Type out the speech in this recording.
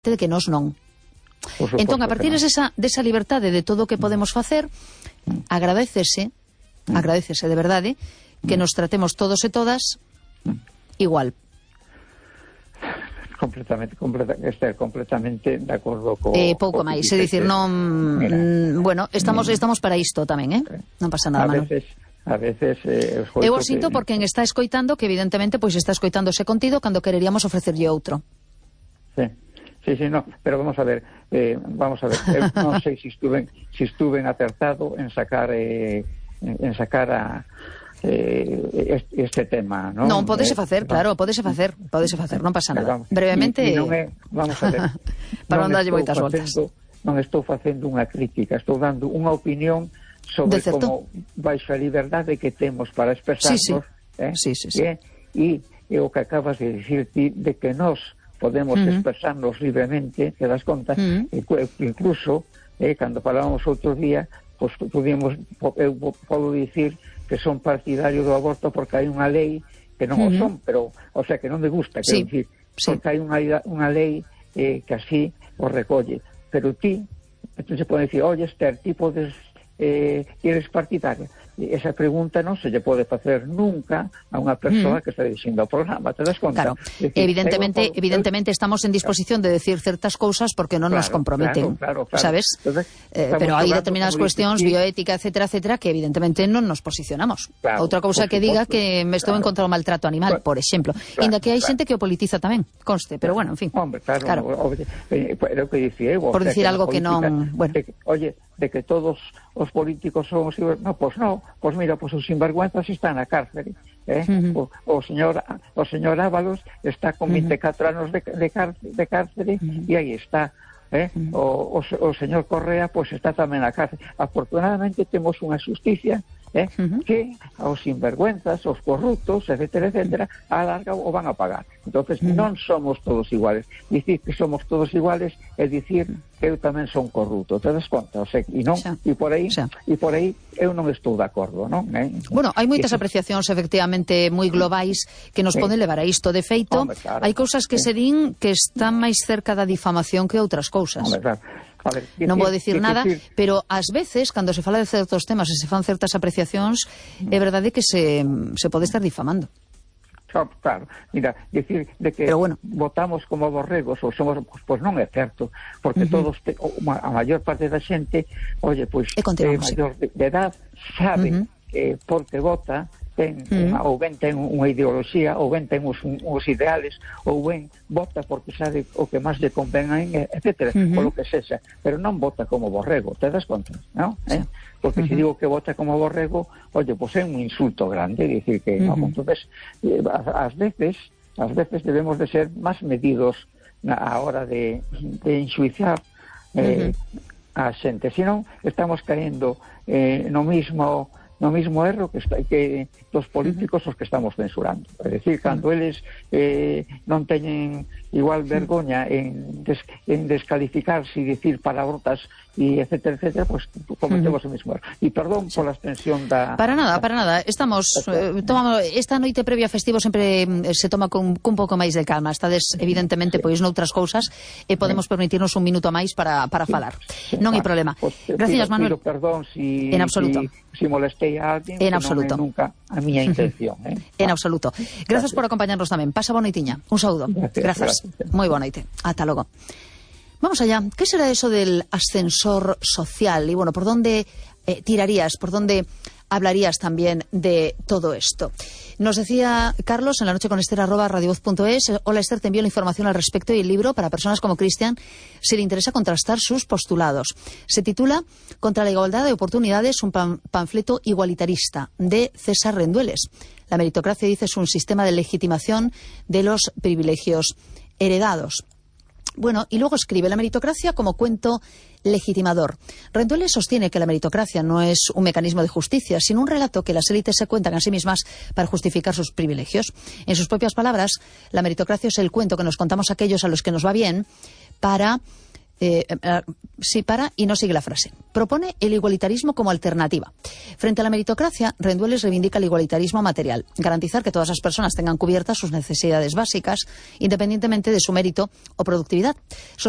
de que nós non. Entón, a partir desa liberdade de todo o que podemos facer, agradécese de verdade que nos tratemos todos e todas igual. Estar completamente de acordo co... pouco máis, é dicir, non... Bueno, estamos para isto tamén, non pasa nada, Manu. A veces eu o sinto por quen está escoitando, que evidentemente pois está escoitando ese contido cando quereríamos ofrecerlle outro. Sí, no, pero vamos a ver, eu non sei se estuven acertado en sacar este tema, non? Non, podese facer, claro, podese facer, non pasa nada. Brevemente... Vamos a ver, para non darlle moitas voltas. Non estou facendo unha crítica, estou dando unha opinión sobre como baixo a liberdade que temos para expresarnos, e o que acabas de dicir ti, de que nós podemos expresarnos libremente, te das conta, incluso, cando falábamos outro día, pues, eu podo dicir que son partidario do aborto porque hai unha lei que non o son, pero, o sea, que non me gusta, quero dicir, porque hai unha lei que así o recolle. Pero ti, entonces pode dicir, oye, Esther, ti podes, eres partidaria? Esa pregunta non se lle pode facer nunca a unha persoa que está dirixindo o programa, te das conta? Claro, evidentemente estamos en disposición de decir certas cousas porque non nos comprometen, sabes? Entonces, pero hai determinadas cuestións, bioética, etcétera, que evidentemente non nos posicionamos. Outra cousa que diga que me estou en contra do maltrato animal, por exemplo. Inda que hai xente que o politiza tamén, conste, pero bueno, en fin. Hombre, claro. Pero que dicía eu, por dicir algo que non... Oye, de que todos os políticos son os... No, pois non. Pois mira, pois os sinvergüenzas están na cárcere. O señor Ábalos está con 24 anos de cárcere e aí está. O señor Correa pois está tamén na cárcere. Afortunadamente temos unha xusticia que aos sinvergüenzas, aos corruptos, etcétera, a larga o van a pagar. Entonces non somos todos iguales. Dicir que somos todos iguales é dicir que eu tamén son corrupto, te das conta? O sea, e por aí eu non estou de acordo, non? Bueno, hai moitas apreciacións efectivamente moi globais que nos poden levar a isto. De feito, hai cousas que se din que están máis cerca da difamación que outras cousas. Non vou dicir nada, pero ás veces, cando se fala de certos temas e se fan certas apreciacións, é verdade que se pode estar difamando. Claro, mira, decir de que votamos como borregos ou somos, pois non é certo, porque todos, a maior parte da xente, oye, pois é maior de edad, sabe porque vota, ou ben ten unha ideoloxía, ou ben ten uns ideales, ou ben vota porque sabe o que máis lle convén, etcétera, por lo que sexa, pero non vota como borrego, te das conta, non? Porque se digo que vota como borrego, oye, pois é un insulto grande, dicir que non, entonces, ás veces debemos de ser máis medidos a hora de enxuiciar a xente, senón estamos caendo no mismo erro que dos políticos os que estamos censurando. É dicir, cando eles non teñen igual vergoña en descalificarse e dicir palabrotas e etcétera, pues cometemos o mismo erro. E perdón pola extensión da... Para nada. Estamos tomamos esta noite previa a festivo sempre se toma con un pouco máis de calma. Estades evidentemente pois noutras cousas e podemos permitirnos un minuto máis para falar. Non hai problema. Gracias, Manuel. Pido perdón en absoluto. Si molestei a alguén, en absoluto. Non é nunca a miña intención. En absoluto. Gracias por acompañarnos tamén. Pasa boa noitiña. Un saúdo. Gracias. Moi boa noite. Ata logo. Vamos allá. ¿Qué será eso del ascensor social? Y bueno, ¿por dónde tirarías? ¿Por dónde hablarías también de todo esto? Nos decía Carlos en la noche con Esther @radiovoz.es. Hola Esther, te envío la información al respecto y el libro para personas como Cristian si le interesa contrastar sus postulados. Se titula Contra la igualdad de oportunidades, un panfleto igualitarista de César Rendueles. La meritocracia, dice, es un sistema de legitimación de los privilegios heredados. Bueno, y luego escribe la meritocracia como cuento legitimador. Rendueles sostiene que la meritocracia no es un mecanismo de justicia, sino un relato que las élites se cuentan a sí mismas para justificar sus privilegios. En sus propias palabras, la meritocracia es el cuento que nos contamos aquellos a los que nos va bien para sí para y no sigue la frase. Propone el igualitarismo como alternativa. Frente a la meritocracia, Rendueles reivindica el igualitarismo material, garantizar que todas las personas tengan cubiertas sus necesidades básicas, independientemente de su mérito o productividad. Sostiene